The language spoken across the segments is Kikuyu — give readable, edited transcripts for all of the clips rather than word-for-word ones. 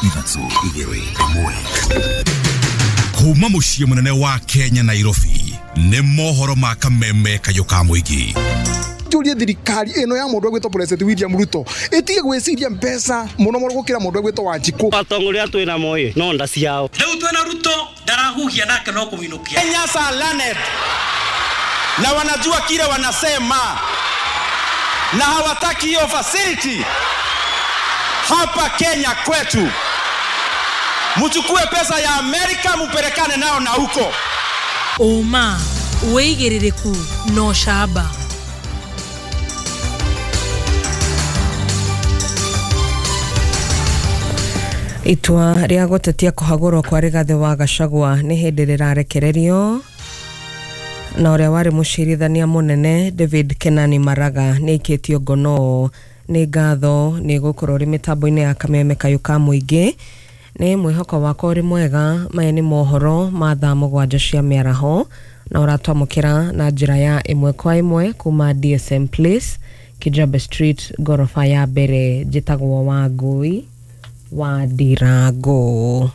3 2 1. Kuma muciĩ mũnene wa Kenya Nairobi nĩ mohoro ma kameme kayũ ka mũingĩ. Njurie thirikari ĩno ya mũndũ ũgwĩtwo President William Ruto ĩtige gwĩciria mbeca mũno mũno gũkĩra mũndũ ũgwĩtwo Wanjikũ. Atongoria twĩna moi no nda ciao. Rĩu twĩna Ruto ndarahuhia nake no kũminũkia. Kenyans are learned na wanajua kile wanasema na hawataki hiyo facility hapa Kenya kwetu. Mchukue pesa ya Amerika mupelekane nao na huko. Uma wĩigĩrĩrĩku no camba. Itua rĩa gũtetia kũhagũrwo kwa Rigathĩ wa Gachagua nĩ hĩndĩ rĩrarekererio na ũrĩa warĩ mũcirithania mũnene David Kenani Maraga nĩ aikĩtio ngono. Nĩ ngatho nĩ gũkorwo ũrĩ mĩtambo-inĩ ya kameme kayũ ka mũingĩ. Nĩ mwĩhoko wakwa ũrĩ mwega. Maya nĩ mohoro ma thaa 7 cia mĩaraho na ũratwamũkĩra na njĩra ya ĩmwe kwa ĩmwe kuma DSM Place, Kijabe Street, ngoroba ya mbere. Njĩtagwo Wangui wa Ndirango.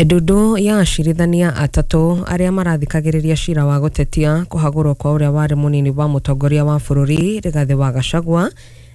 Ndundu ya acirithania atatũ arĩa marathikagĩrĩria cira wa gũtetia kũhagũrwo kwa ũrĩa warĩ mũnini wa mũtongoria wa bũrũri Rigathĩ wa Gachagua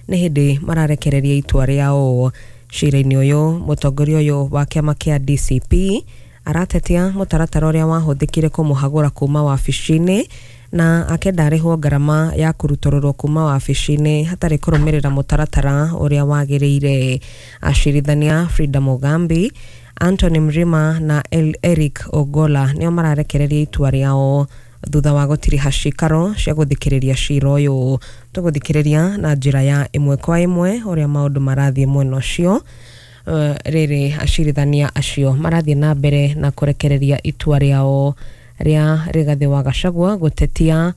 nĩ hĩndĩ mararekereria itua rĩao. Cira-inĩ ũyũ mũtongoria ũyũ wa kĩama kĩa DCP aratetia mũtaratara ũrĩa wahũthĩkire kũmũhagũra kuma wabici-inĩ na akenda arĩhwo ngarama ya kũrutũrũrwo kuma wabici-inĩ hatarĩ kũrũmĩrĩra mũtaratara ũrĩa wagĩrĩire. Acirithania Frida Mugambi, Anthony Mrima na Eric Ogola nĩo mararekereria itua rĩao thutha wa gũtiriha cikaro cia gũthikĩrĩria cira ũyũ. Tũgũthikĩrĩria na njĩra ya ĩmwe kwa ĩmwe ũrĩa maũndũ marathiĩ mwena ũcio. Rĩrĩ acirithania acio marathiĩ na mbere na kũrekereria itua rĩao rĩa Rigathĩ wa Gachagua gũtetia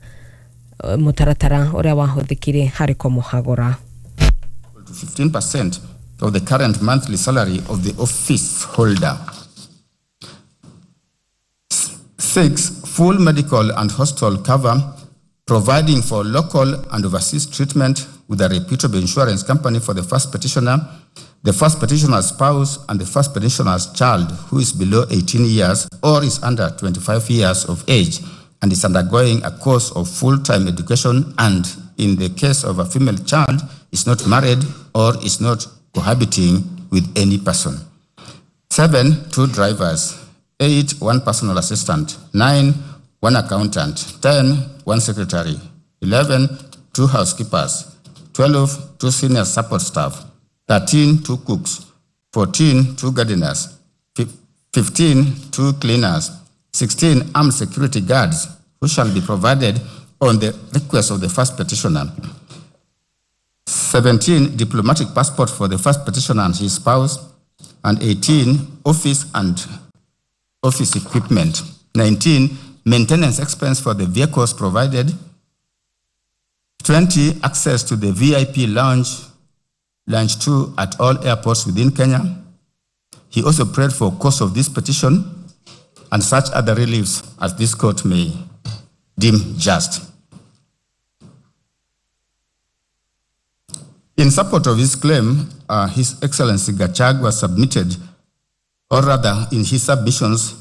mũtaratara ũrĩa wahũthĩkire harĩ kũmũhagũra. 15% of the current monthly salary of the office holder. 6, full medical and hospital cover, providing for local and overseas treatment with a reputable insurance company for the first petitioner, the first petitioner's spouse, and the first petitioner's child who is below 18 years or is under 25 years of age and is undergoing a course of full-time education and, in the case of a female child, is not married or is not cohabiting with any person. 7, 2 drivers. 8, 1 personal assistant. 9, 1 accountant. 10, 1 secretary. 11, 2 housekeepers. 12, 2 senior support staff. 13, 2 cooks. 14, 2 gardeners. 15, 2 cleaners. 16, armed security guards who shall be provided on the request of the first petitioner. 17, diplomatic passport for the first petitioner and his spouse. And 18, office and office equipment. 19, maintenance expense for the vehicles provided. 20, access to the VIP lounge, lounge 2 at all airports within Kenya. He also prayed for cost of this petition and such other reliefs as this court may deem just. In support of his claim, His Excellency Gachagua submitted, or rather in his submissions,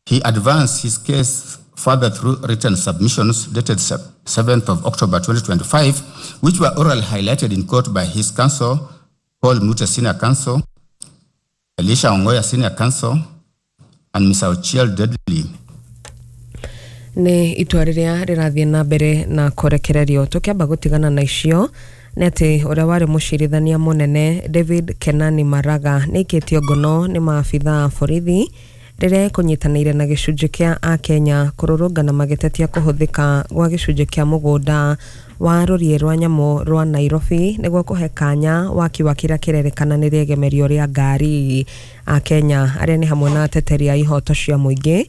he advanced his case further through written submissions dated 7th of October 2025, which were orally highlighted in court by his counsel, Paul Muta Senior Counsel, Elisha Ongoya Senior Counsel, and Mr. Ochiel Dudley. Nĩ itua rĩrĩa rĩrathiĩ na mbere na kũrekererio. Tũkĩamba gũtigana na icio nĩ atĩ ũrĩa warĩ mũcirithania mũnene David Kenani Maraga nĩ aikĩtio ngono nĩ maabithaa a borithi rĩrĩa ekũnyitanĩire na gĩcunjĩ kĩa akenya kũrũrũngana magĩtetia kũhũthĩka gwa gĩcunjĩ kĩa mũgũnda wa rũriĩ rwa nyamũ rwa Nairobi nĩguo kũhe kanya waki wa kĩrĩa kĩrerĩkana nĩ rĩegemerio rĩa ngari. Akenya arĩa nĩ hamwe na ateteri a ihoto cia mũingĩ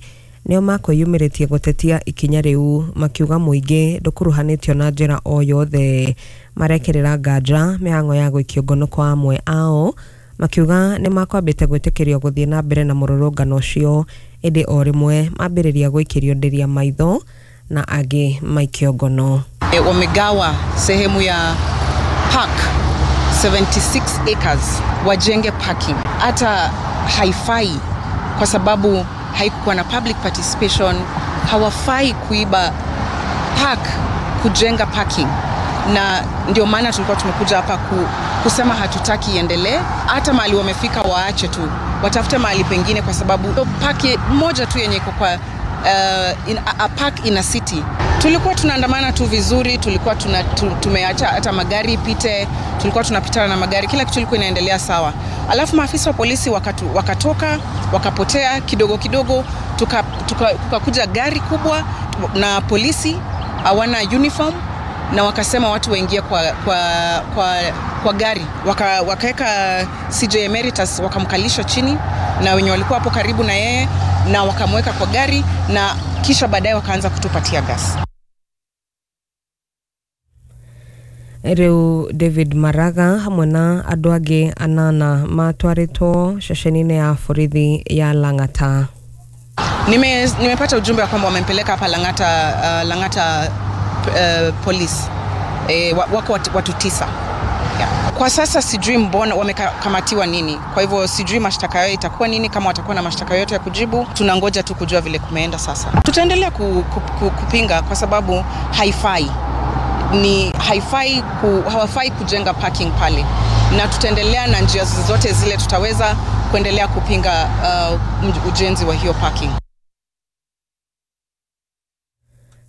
nĩo makwĩyumĩrĩtie gũtetia ikinya rĩu makiuga mũingĩ ndũkuruhanĩtio na njĩra o yothe. Marekĩrĩra nganja mĩhang'o ya gũikio ngono kwa amwe ao makiuga nĩ makwambĩte gwĩtĩkĩrio gũthiĩ na mbere na mũrũrũngano ũcio ĩndĩ o rĩmwe mambĩrĩria gũikĩrio ndĩria maitho na angĩ maikio ngono. Wamegawa sehemu ya park 76 acres wajenge parking. Hata haifai kwa sababu haikuwa na public participation. Hawafai kuiba park kujenga parking, na ndio maana tulikuwa tumekuja hapa kusema hatutaki iendelee. Hata mahali wamefika waache tu, watafute mahali pengine, kwa sababu park moja tu yenye iko kwa a park in a city. Tulikuwa tunaandamana tu vizuri, tulikuwa tumeacha hata magari ipite, tulikuwa tunapitana na magari, kila kitu ilikuwa inaendelea sawa. Alafu maafisa wa polisi wakatoka, wakapotea kidogo kidogo, tukakuja gari kubwa na polisi hawana uniform, na wakasema watu waingie kwa gari. Wakaweka CJ Emeritus, wakamkalisha chini na wenye walikuwa hapo karibu na yeye, na wakamweka kwa gari, na kisha baadaye wakaanza kutupatia gas. Rĩu David Maraga hamwe na andũ angĩ anana matwarĩtwo ceceni-inĩ ya borithi ya Lang'ata. Nimepata ujumbe kwamba wamempeleka hapa Lang'ata police. Wako watu 9. Yeah. Kwa sasa sijui mbona wamekamatiwa nini. Kwa hivyo sijui mashtaka yao itakuwa nini, kama watakuwa na mashtaka yote ya kujibu. Tunangoja tu kujua vile kumeenda sasa. Tutaendelea kupinga kwa sababu haifai. Ni haifai hawafai kujenga parking pale. Na tutaendelea na njia zote zile tutaweza kuendelea kupinga ujenzi wa hiyo parking.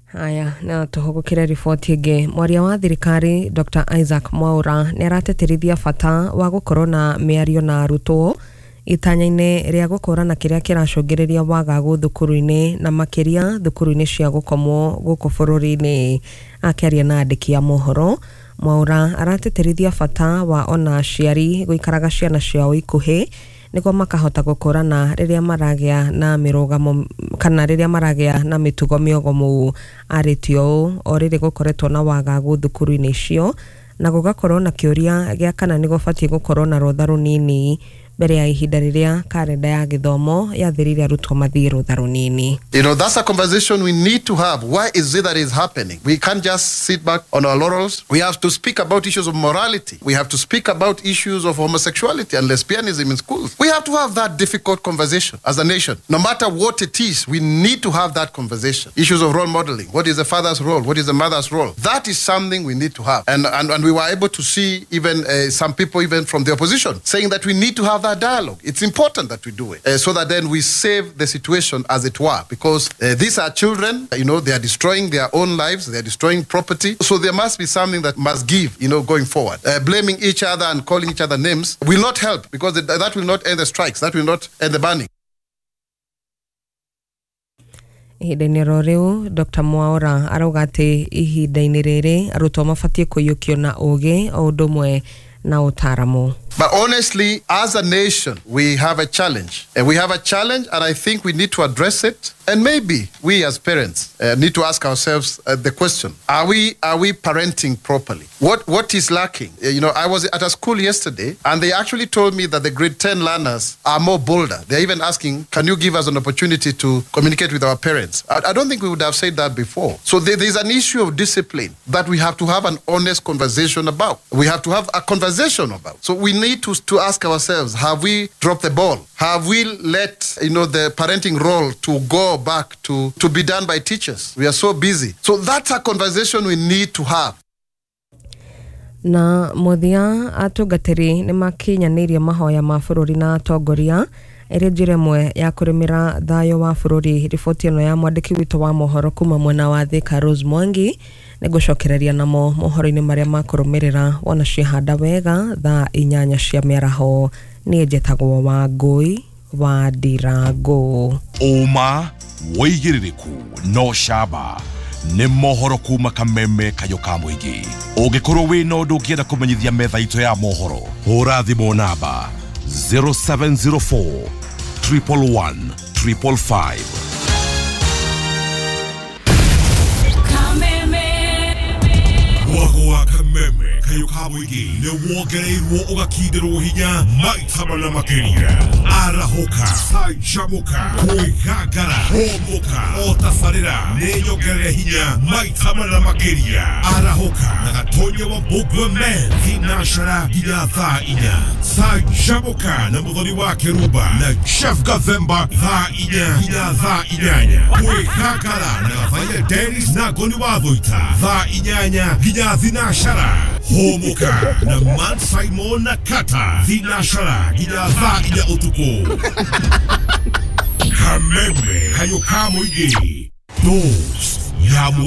Haya, na tuhugukire riboti ĩngĩ. Mwaria wa thirikari Dr. Isaac Mwaura nĩ arateterithia bata wa gũkorwo na mĩario na arutwo itanya-inĩ rĩa gũkũrana kĩrĩa kĩracũngĩrĩria wagagu thukuru-inĩ na makĩria thukuru-inĩ cia gũkomwo gũkũ bũrũri-inĩ. Akĩaria na andĩki a mohoro, Mwaura arateterithia bata wa ona aciari gũikaraga ciana ciao ikuhĩ nĩguo makahota gũkũrana rĩrĩa maragĩa na mĩrũgamo kana rĩrĩa maragĩa na mĩtugo mĩogomu. Arĩtie ũũ o rĩrĩ gũkoretwo na wagagu thukuru-inĩ icio na gũgakorwo na kĩũria gĩa kana nĩ gũbatiĩ gũkorwo na rũtha rũnini mbere ya ihinda rĩrĩa karenda ya gĩthomo yathirire arutwo mathiĩ rũtha rũnini. You know, that's a conversation we need to have. Why is it that is happening? We can't just sit back on our laurels. We have to speak about issues of morality. We have to speak about issues of homosexuality and lesbianism in schools. We have to have that difficult conversation as a nation. No matter what it is, we need to have that conversation. Issues of role modeling. What is the father's role? What is the mother's role? That is something we need to have. And we were able to see even some people even from the opposition saying that we need to have that dialogue. It's important that we do it so that then we save the situation as it were, because these are children, you know, they are destroying their own lives, they are destroying property. So there must be something that must give, you know, going forward. Blaming each other and calling each other names will not help, because that will not end the strikes, that will not end the banning. Ihinda-inĩ ro rĩu Dr. Mwaura arauga atĩ ihinda-inĩ rĩrĩ arutwo mabatiĩ kũiyũkio na ũgĩ o ũndũ ũmwe na ũtaaramu. But honestly, as a nation, we have a challenge. And we have a challenge, and I think we need to address it. And maybe we as parents need to ask ourselves the question, are we parenting properly? What is lacking? You know, I was at a school yesterday, and they actually told me that the grade 10 learners are more bolder. They're even asking, can you give us an opportunity to communicate with our parents? I don't think we would have said that before. So there's an issue of discipline that we have to have an honest conversation about. We have to have a conversation about. So we need to ask ourselves, have we dropped the ball? Have we let, you know, the parenting role to go back to be done by teachers? We are so busy. So that's a conversation we need to have. Na mũthia atungatĩri nĩ makinyanĩirie mahoya ma bũrũri na atongoria ĩrĩ njĩra ĩmwe ya kũrĩmĩra thayũ wa bũrũri. Riboti ĩno ya mwandĩki witũ wa mohoro kuma mwena wa Thika Rose Mwangi nĩngũcokereria namo mohoro-inĩ marĩa makũrũmĩrĩra wona ciahanda wega thaa 8 cia mĩaraho. Niĩ njĩtagwo Wangũi wa Ndirango. Ũma wĩigĩrĩrĩku no camba nĩ mohoro kuma kameme kayo ka mũingĩ. Ũngĩkorwo wĩna ũndũ ũngĩenda kũmenyithia metha itũ ya mohoro, hũra thimũ namba 0704 111 555. Kameme. Mwago wa Kameme. kayũ ka mũingĩ nĩ wongereirwo ũgakindĩrwo hinya maita mana makĩria. Arahũka, canjamũka, kwĩgangara, hũmũka, o tabarĩra nĩ nyongerere hinya maita mana makĩria. Arahũka na Gatonye wa Mbũngwe Men thinacara nginya thaa 4. Canjamũka na Mũthoni wa Kĩrumba na Jeff Gathemba thaa 4 nginya thaa 8. Kwĩgangara na Gathaiya Dennis na Ngoni wa Thũita thaa 8 nginya thinacara. Hũmũka na Matt Simon na Kata thinacara nginya thaa 4 ũtukũ. Kameme kayũ ka mũingĩ. Dose ya mwa.